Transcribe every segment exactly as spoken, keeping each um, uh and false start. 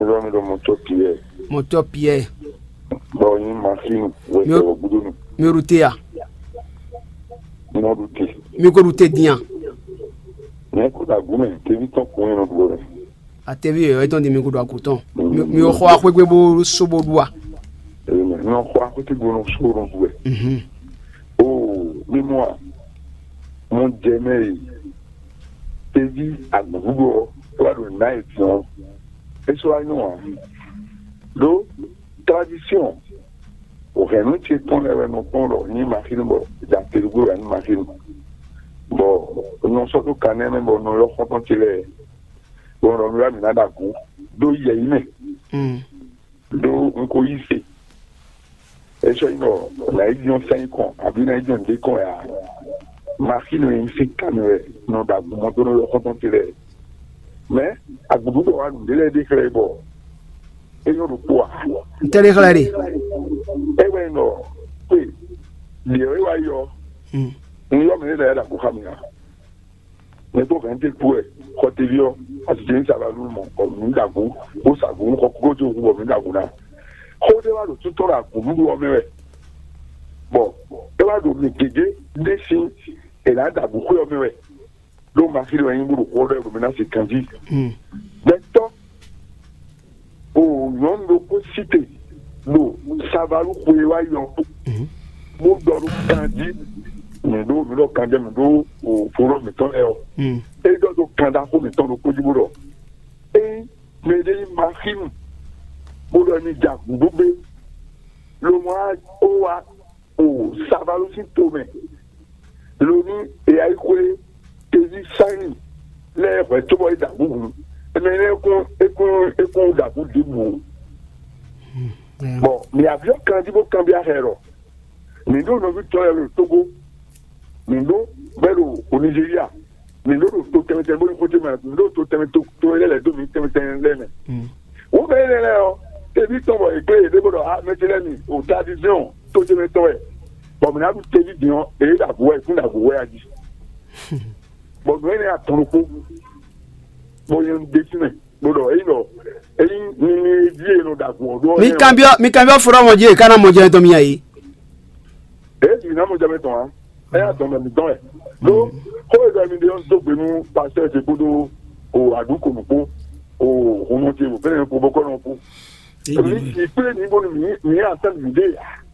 Yɔ mi ɖo mɔtɔ Pierre. Mɔtɔ Pierre. Bɔ nyi machine wɛ Mi- sɛ wɔ gudonu. Mi ɖu te ya? Nɔ ɖu te. Mi ko ɖu te din ya? Mɛ ko ɖo agu mɛ, tevi tɔn kun yɛ nɔ ɖu wɛ. Atevi yɛ etɔn di mi ko ɖo agu tɔn. Mi mi xɔ axwegbe bo so bo ɖu a? Ee, mɛ nɔ xɔ axwete gbo nɔ so nɔ ɖu wɛ. Mhm. Oo, mi mɔ a? Mo jɛ mɛ yi. Tevi agbǔɖuɖu ɔ́, é wá ɖo nǎ e din ɔ́, é sɔ́ wá nyɔ́ ǎ. Ɖó tradition, o hɛ̌nnu ce tɔn lɛ́ɛ wɛ nɔ kpɔ́n ɖɔ nyí maxinu bɔ ɖa teɖugbó wɛ nyí maxinu. Bɔ nɔ sɔ́ ɖó kanɛ́ mɛ bɔ nɔ ylɔ́ xɔ́ntɔn ce lɛ́ɛ, bɔ nɔ ylɔ́ mǐ ná ɖo agun ɖó yɛ̌yi mɛ, Mm. ɖó un ko yí se. É sɔ́ nyí ɖɔ nǎ yi nyɔ́ sɛ́n kɔn abǐ nǎ yi nyɔ́ nǔɖé kɔn ǎ. Maxinu e nyí sín kanɛ wɛ nɔ ɖo agun mɔ dó nɔ ylɔ́ xɔ́ntɔn ce lɛ́ɛ. Mɛ agbǔɖuɖu wa nǔɖé lɛ́ɛ ɖe xlɛ́ bɔ é nyɔ́ ɖokpó ǎ. Ntɛ́ ɖé xlɛ́ ɖe? É wɛ nɔ kpe ɖě é wá yɔ. Mm. Un yɔ mɛ lɛ́ɛ lɛ́ɛ ɖo agun xá mi ǎ. Mɛ tó hɛn té kú wɛ xɔ teví ɔ́, asi jɛ ní sa ba nú mɔ bɔ mǐ ɖo agun, bó sa agun nú xɔ kúkú tó hu bɔ mǐ ɖo agun ná. Xó ɖé wá ɖo títɔ́ ɖo agun nú ɖu ɔ́ mɛ wɛ, bɔ é wá ɖo mǐ gěgé ɖé sín è nǎ ɖo agun xwé ɔ́ mɛ wɛ. Ɖó Maxíli wɛ nyí bó ɖo xó ɖɔ ɖo mɛ ná se kanjí. Gbɛtɔ́ o nyɔ̌nu ɖokpó sí te ɖo Savalu xwe e wá yi ɔ́, bó ɖɔ ɖó kanjí, mǐ ɖó mǐ ɖɔ kanjí mǐ ɖó o folóo mǐtɔn lɛ́ɛ ɔ́. É ɖɔ ɖó kan ɖaxó mǐtɔn ɖokpó jí bó ɖɔ: Ényí mɛɖé nyí Maxímu, bó ɖɔ mi ja gǔdo gbé, lomo wá ó wá o Savalu sín tomɛ, lo ní e yá yi xwlé teví Saini lɛ́ɛ hwɛ̌ cóbɔ é da gǔ hǔn. Énɛ́ lɛ́ɛ kún é kún é kún da gǔ ɖěbǔ ó. Bɔn mǐ abyɔ́ kanjí bó kanbyɔ́ axɛ ɖɔ: Mǐ ɖó nɔví tɔn lɛ́ɛ ɖo Tógó, mǐ ɖó bɛ́ ɖo Nizeriya, mǐ ɖó ɖo to tɛnmɛ tɛnmɛ bó ní xóté mɛ, mǐ ɖó to tɛnmɛ to to lɛ́ɛ lɛ̌ dó mǐ tɛnmɛ tɛnmɛ lɛ́ɛ mɛ. Wǒ mɛ énɛ́ lɛ́ɛ ɔ́, teví tɔn bɔ è kplé yě ɖé bó ɖɔ: A mɛ ce lɛ́ɛ mi, o tradiziɔn tó ce mɛ tɔn wɛ, bɔ mǐ ná ɖu teví din ɔ́, è ɖo agu wɛ, kún ɖo agu wɛ a jí. Bɔ nǔ énɛ́ atɔn ɖokpó, bɔ nyɛ un ɖe fínɛ́, bó ɖɔ: Ényí ɖɔ ényí mi mi e jí e nɔ ɖo agu ɔ́ ɖó ɔ́, Mi nɛ́ ɔ́, kanbyɔ́ mi kanbyɔ́ fɔ́nɔ́ mɔ jí e ka ná mɔ jɛ tɔn mi a yě. Ě mi ná mɔ jɛ mɛ tɔn ǎ. Ɛ yá dɔn mɛ mi dɔn wɛ. Ɖó xó e ɖɔ mi ɖe ɔ́ dó gbe nú pastɔ́ ce kpódó o aɖǔ ko nǔ kpó, o hunɔ ce wò fɛnɛ kpo bɔkɔ́nɔ kpó. Mi ti kplé mi bónú mi mi asán mi ɖe ǎ.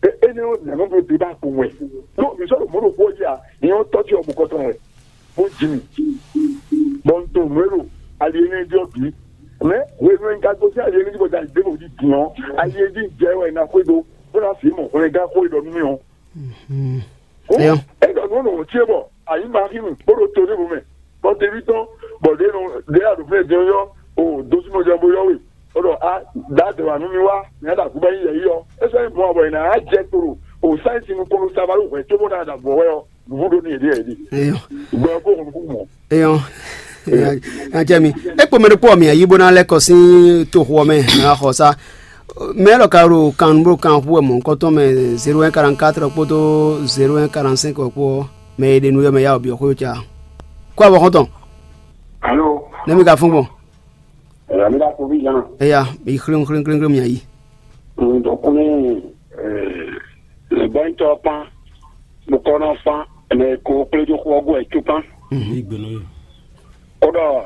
Énɛ́ ɔ́ nǎ nɔ ɖo débat kpowun wɛ. Ɖó mi sɔ́ ɖo mɔ̌ ɖokpó ɔ́ jí a, mi ɔ́ tɔ́ ce ɔ́ bó kɔ́ tɔn wɛ, bó ji mì, bɔ un tunwun nǔ e ɖo ali énɛ́ jí ɔ́ bǐ. Mɛ hwenu e un ka gosín ali énɛ́ jí bɔ jɛ ali ɖěvo jí din ɔ́, ali e jí un jɛ wɛ un ná xwedó, bó ná fi mɔ hwlɛngán xó e ɖɔ nú mì ɔ́. Hǔn Eyo. É ɖɔ nǔ nɔ ce bɔ a nyǐ Maxímu bó ɖo to ɖěvo mɛ, bɔ teví tɔn, bɔ ɖě nɔ ɖě a ɖo fínɛ́ din ɔ́ yɔ o dosúmɔjɔ bó yɔ we, bó ɖɔ a ɖǎ dɛ̌ wǎ nú mì wá, mǐ ná ɖo aguba nyi yɛ̌yi ɔ́. É sɔ́ nyí mɔ̌ bɔ è nǎ jɛ kpo ɖo o sáyɛ́nsi nukɔn ɖo Savalu hwɛ̌ cóbó ná ɖo avɔ wɛ ɔ́, nǔvú ɖó n'i yě ɖíe yě ɖi. Eyo. Gbɔ ɛ kó hun nukún mɔ. Eyo. Nya jɛ mi. E kpɔ mɛ ɖokpó ɔ́ mi ayi bó ná lɛ́ kɔ sín toxo ɔ́ mɛ ná xɔ sá. Mɛ élɔ́ ka ɖo kan bó kan xú wɛ mɔ̌hunkɔtɔn mɛ zéro un quarante quatre kpódó zéro un quarante cinq kpó ɔ́, mɛ e ɖe nú yɔ mɛ ya wɔ byɔ̌ xwé ca. Kó avɔ xɔ́ntɔn. Alo. Nɛ́ mi ka fún gbɔn? Ɛɛ, mi ka ko vi yan. Eya, mi xlín xlín xlín xlín mi ayi. Ŋdɔkun ní lɛ̌gbɔ́nyitɔ́ ɔ́ kpán, bó kɔ́ nɔ fán mɛ e ko kplé dó xó ɔ́ gɔ́ ɛ cú kpán. Yí gbe nú yě. Kó ɖɔ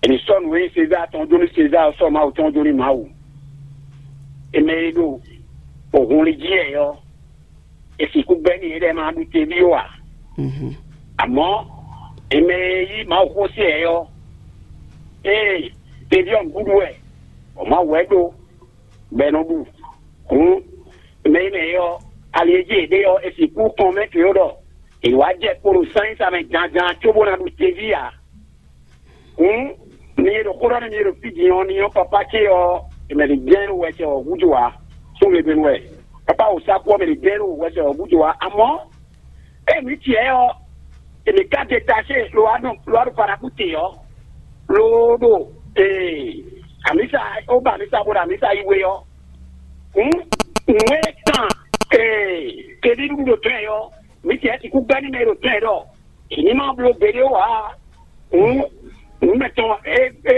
è nǐ sɔ́ nǔ e nyí Sezaa tɔn jó nú Sezaa, sɔ́ Mawu tɔn jó nú Mawu. È mɛ e ɖo ohun li jí ɛ ɔ́, è sixú gbɛ́ n'i é ɖɛ́ ma ɖu teví ó ǎ. Amɔ̌, è mɛ e yí Mawu xó se ɛ ɔ́, ée teví ɔ́ nǔɖuɖu wɛ, bɔ Mawu wɛ ɖó, bɔ è nɔ ɖu. Hǔn, mɛ e mɛ ɔ́, ali e jí è ɖe ɔ́, è sixú kɔn mɛ tló ɖɔ è wǎ jɛ kpo ɖo sányísa mɛ janjan cóbó ná ɖu teví ǎ. Hǔn, mi e ɖo xó ɖɔ nú mi e ɖo fí din ɔ́, ní nyɔ́ papá ce ɔ́, è mɛ ɖě jɛ́n ɖo wɛsɛ ɔ́ gúdo ǎ. Sún gbe mɛ wɛ. Papá wǒ sá kú ɔ́, mɛ ɖě jɛ́n ɖo wɛsɛ ɔ́ gúdo ǎ. Amɔ̌, ée mǐ tiɛ ɔ́, è mǐ ka detaché lo wá nɔ lo wá ɖo Faraku te ɔ́, lo ɖo ee amisa ó ba amisa bó ɖo amisa yi we ɔ́, hǔn nǔ e kan ee keɖíɖu ɖo tɔn ɛ ɔ́, mǐ tiɛ sixú gbɛ́ nú mɛ e ɖo tɔn ɛ ɖɔ è ní ma bló gbeɖé ó ǎ. Hǔn nǔ mɛtɔn e e